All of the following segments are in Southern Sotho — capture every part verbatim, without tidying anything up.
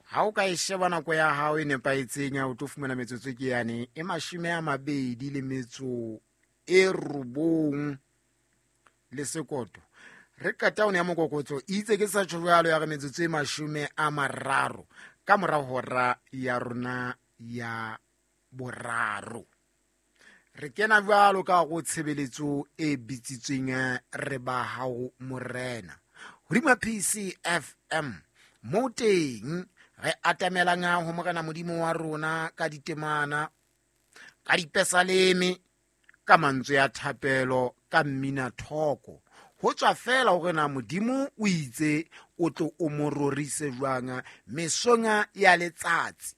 Ha o ka e sheba nako ya hao e nepahetseng ya o tlo fumana metsotso ke yane e mashome a mabedi le metso e robong le sekoto. Re qeta ho ya mokokotso itse ke sa tjho jwalo ya re metsotso e mashome a mararo ka mora hora ya rona ya boraro. Re kena jwalo ka go tshebeletso e bitsitsweng re ba hao morena. Hodima P C F M mo teng re atamelang ho morena Modimo wa rona ka ditemana, ka dipesaleme, ka mantswe a thapelo, ka mmina thoko. Ho tswa fela hore na Modimo o itse o tlo o mo rorise jwang mesong ya letsatsi.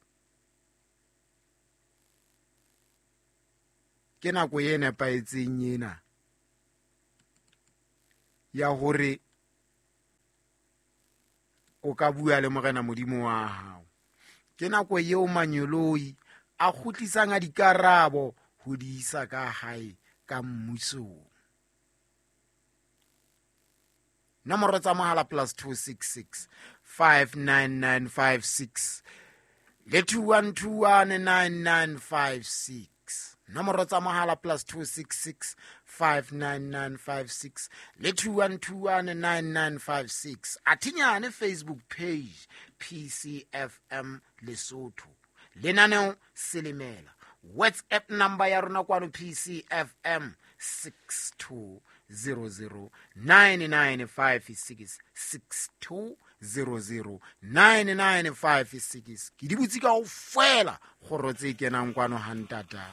Ke nako e nepahetseng ena ya hore o ka bua le morena Modimo wa hao. Ke nako eo manyoloi a kgutlisang a dikarabo ho di isa ka hae ka mmusong. Nomoro tsa mohala plus two six six five nine nine five six le two one two one nine nine five six. Nomoro tsa mohala plus two six six five nine nine five six le two one two one nine nine five six. Athinyane Facebook page P C F M Lesotho. Lenaneo Selemela. WhatsApp number ya rona kwano P C F M six two zero zero nine nine five six, six two zero zero nine nine five six. Ke di butse kaofela kgoro tse kenang kwano ha ntata.